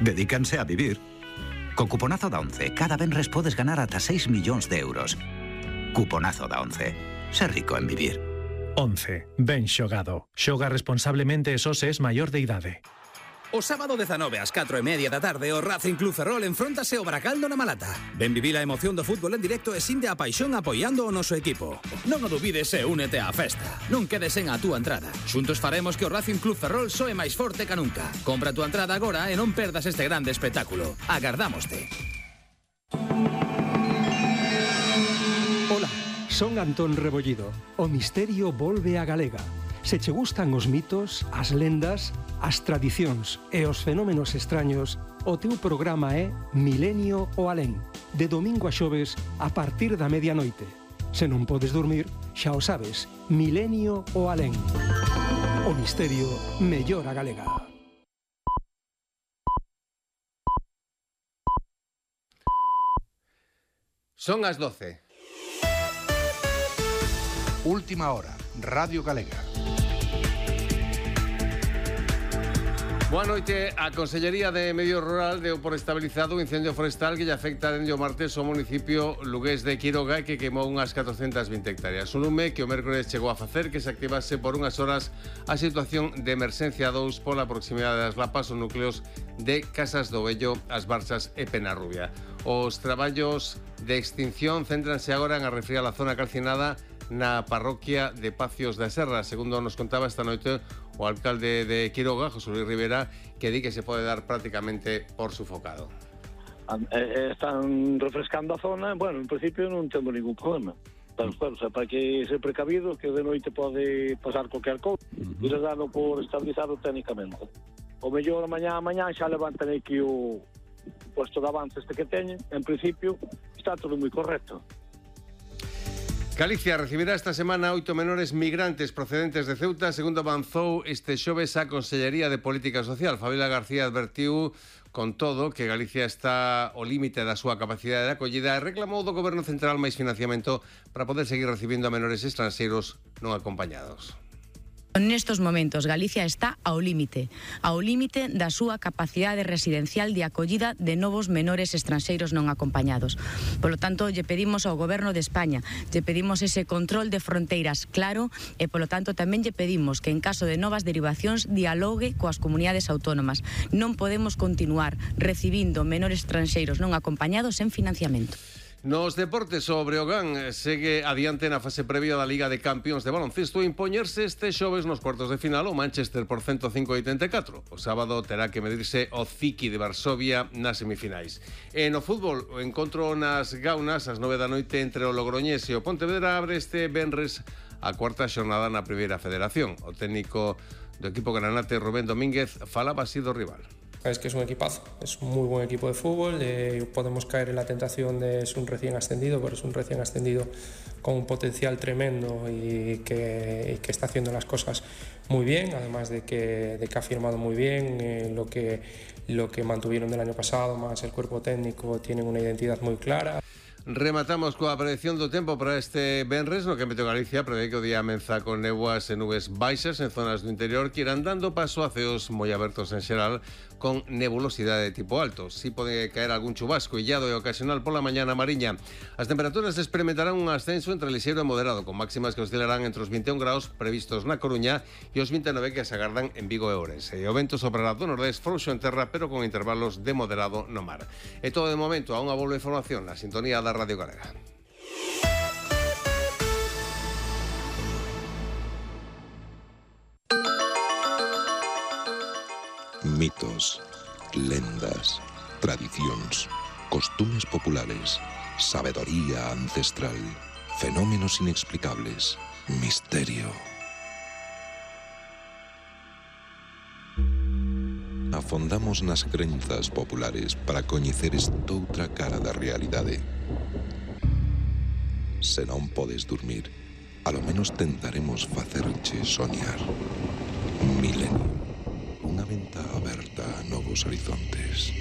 Dedícanse a vivir. Co cuponazo da Once, cada venres podes ganar ata 6 millóns de euros. Cuponazo da Once. Ser rico en vivir. Once. Ben xogado. Xoga responsablemente e só se es maior de idade. O sábado 19 ás 4:30 da tarde o Racing Club Ferrol enfróntase ao Baracaldo na Malata. Ven vivir a emoción do fútbol en directo e sinte a paixón apoiando o noso equipo. Non o dubides e únete á festa. Non quedes sen a túa entrada. Xuntos faremos que o Racing Club Ferrol soe máis forte ca nunca. Compra a túa entrada agora e non perdas este grande espectáculo. Agardámoste. Ola, son Antón Rebollido. O misterio volve a Galega. Se che gustan os mitos, as lendas, as tradicións e os fenómenos extraños, o teu programa é Milenio o Alén, de domingo a xoves a partir da medianoite. Se non podes dormir, xa o sabes, Milenio o Alén. O misterio mellor a Galega. Son as 12. Última hora, Radio Galega. Boa noite. A Consellería de Medio Rural deu por estabilizado o incendio forestal que lle afecta dende o martes ao municipio lugués de Quiroga e que queimou unhas 420 hectáreas. Un lume que o mércores chegou a facer que se activase por unhas horas a situación de emerxencia 2 pola proximidade das lapas os núcleos de Casas do Vello, As Barzas e Penarrubia. Os traballos de extinción céntranse agora en arrefriar a zona calcinada na parroquia de Pacios da Serra, segundo nos contaba esta noite o alcalde de Quiroga, José Luis Rivera, que di que se pode dar prácticamente por sufocado. Están refrescando a zona, bueno, en principio non temos ningún problema. Pero, claro, para que ser precavido, que de noite pode pasar cualquier cousa, ir dando por estabilizado técnicamente. O mellor mañá xa levantan aquí o puesto de avance este que teñen, en principio está todo moi correcto. Galicia recibirá esta semana 8 menores migrantes procedentes de Ceuta, segundo avanzou este xoves a Consellería de Política Social. Fabiola García advertiu, con todo, que Galicia está ao límite da súa capacidade de acollida e reclamou do Goberno Central máis financiamento para poder seguir recibindo a menores estranxeiros non acompañados. Nestos momentos, Galicia está ao límite da súa capacidade residencial de acollida de novos menores estranxeiros non acompañados. Polo tanto, lle pedimos ao Goberno de España, lle pedimos ese control de fronteiras claro e, polo tanto, tamén lle pedimos que en caso de novas derivacións dialogue coas comunidades autónomas. Non podemos continuar recibindo menores estranxeiros non acompañados sen financiamento. Nos deportes, o Breogán segue adiante na fase previa da Liga de Campións de baloncesto e impoñerse este xoves nos cuartos de final o Manchester por 105-84. O sábado terá que medirse o Ziki de Varsovia nas semifinais. E no fútbol, o encontro nas Gaunas ás 9 da noite entre o Logroñés e o Pontevedra abre este venres a cuarta xornada na Primeira Federación. O técnico do equipo granate, Rubén Domínguez, falaba así do rival. Es que es un equipazo, es un muy buen equipo de fútbol, podemos caer en la tentación de es un recién ascendido, pero es un recién ascendido con un potencial tremendo y que está haciendo las cosas muy bien, además de que ha firmado muy bien lo que mantuvieron del año pasado, más el cuerpo técnico, tienen una identidad muy clara. Rematamos coa predicción do tempo para este venres, no que Meteo Galicia prevé que o día amenza con néboas e nubes baixas en zonas do interior que irán dando paso a ceos moi abertos en xeral con nebulosidade de tipo alto. Si pode caer algún chubasco illado e ocasional pola mañá na Mariña. As temperaturas experimentarán un ascenso entre lixeiro e moderado, con máximas que oscilarán entre os 21 graus previstos na Coruña e os 29 que se agardan en Vigo e Ourense. E o vento soprará do nordés frouxo en terra, pero con intervalos de moderado no mar. E todo de momento a unha volve información na sintonía da Radio Galega. Mitos, lendas, tradicións, costumes populares, sabedoría ancestral, fenómenos inexplicables, misterio. Afondamos nas crenzas populares para coñecer estoutra cara da realidade. Se non podes dormir, alo menos tentaremos facerche soñar. Milenio. Unha venta aberta a novos horizontes.